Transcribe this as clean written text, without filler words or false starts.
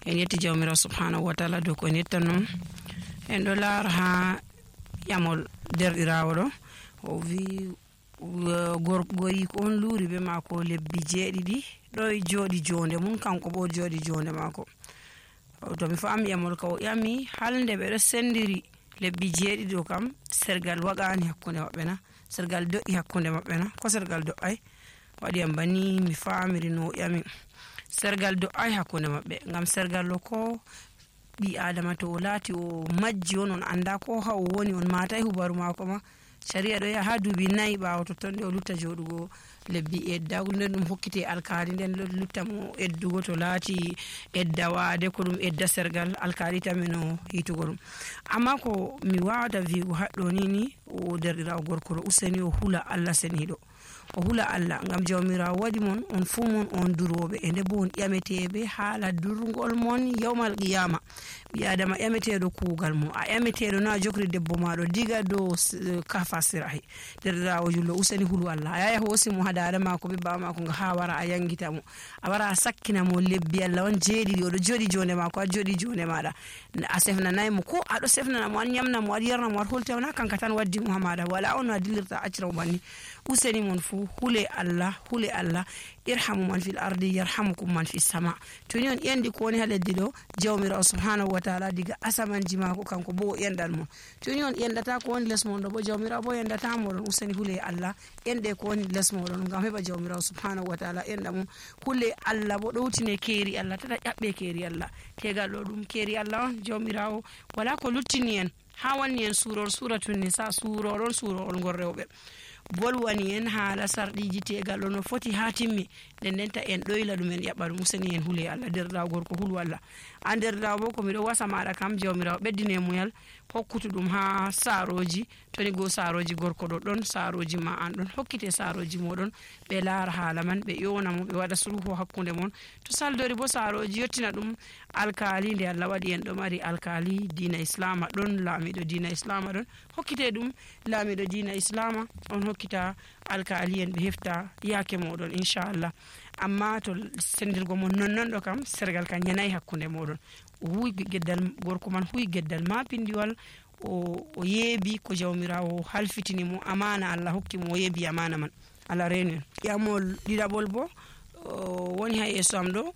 en yetti jawmirawo subhanahu wa ta'ala dow ko en yetta non en ɗo laara ha yamol derɗirawo ɗo o wi gorgoyi ko on luuri be maako lebbi 7 ɗo jooɗi jonde mun kanko bo jooɗi jonde maako. To mi faami yamol ka o yami halde ɓe ɗo sendiri lebbi 7 ɗo kam sergal waɗani hakkunde maɓɓe na, sergal do'i hakkunde maɓɓe na, ko sergal do'ai waɗi am bani mi faamiri no o yami. Sergal do'ai hakkunde maɓɓe ngam sergal ɗo ko ɓi adama to o laati o majji on anda ko ha o woni on matai hubaru maako ma, sharia ɗo yaha ha duuɓi 4 ɓaawo totton nde o lutta joɗugo lebbi eddago nden ɗum hokkite alkali nden lutta mo eddugo to laati eddawade ko ɗum edda sergal alkali tamino hitugo ɗum. Amma ko mi wawata wiigo haɗɗo ni o derɗirawo gorko ɗo useni o hula Allah seniɗo, o hula Allah ngam jawmirawo waɗi mon on fu mon on duroɓe e nde bo on ƴameteɓe haala durgol mon yawmal qiyama. ɓi adama ƴameteɗo kuugal mo, a ƴameteɗo no a jokri debbo maɗo diga dow kafa sirahi. derɗirawo jullo useni hulu Allah, a yaya hoosi mo ha dada mako be baba mako nga ha wara a yangita mo, a wara a sakkina mo lebbi Allah on 7 oɗo joɗi jonde mako a joɗi jonde maɗa, a sefnanayi mo ko aɗo sefnana mo, an nyamna mo, aɗa yarna mo, aɗa holta na kanka tan waddi mo ha maɗa, wala on no a dillirta accira mo banni. useni mon fu hule Allah, hule Allah, irhamu man fil ardi yarhamukum man fis sama. to ni on yandi ko woni ha leddi ɗo jawmirawo subhanahu wa ta'ala diga asamanji mako kanko bo o yandal mon. to ni on yandata ko woni les mon ɗo bo jawmirawo bo yandata moɗon. useni hule Allah yande ko woni les moɗon ngam heɓa jawmirawo subhanahu wa ta'ala yanda mum. hule Allah bo ɗowtine keeri Allah, tata ƴaɓɓe keeri Allah, tegal ɗo ɗum keeri Allah on. jawmirawo wala ko luttini en ha wanni en suror suratun nisa, surorol ngor rewɓe, bolwani en haala sarɗiji tegal ɗo no foti ha timmi, nden ndenta en ɗoyla ɗum en ƴaɓɓa ɗum. useni en hule Allah, derɗirawo gorko hulu Allah. an derɗirawo bo ko miɗo wasa maɗa kam jawmirawo ɓeddine muyal hokkutu ɗum ha saroji, toni go saroji gorko ɗo ɗon, saroji ma an ɗon, hokkite saroji moɗon ɓe laara haala man, ɓe ƴona mo, ɓe waɗa sulhu hakkunde mon. to saldori bo saroji yettina ɗum alkali, nde Allah waɗi en ɗo mari alkali dina islama ɗon, laamiɗo dina islama ɗon, hokkite ɗum laamiɗo dina islama on hokkita alkali en ɓe hefta yake moɗon inchallah. amma to sendirgo mon nonnon ɗo kam sergal kan yanayi hakkunde moɗon. o huwi geddal gorko man huwi geddal ma pindiwal, o yeebi ko jawmirawo halfitini mo, amana Allah hokki mo, o yeebi amana man. Allah renu en. yamol ɗiɗaɓol bo woni ha yeeso am ɗo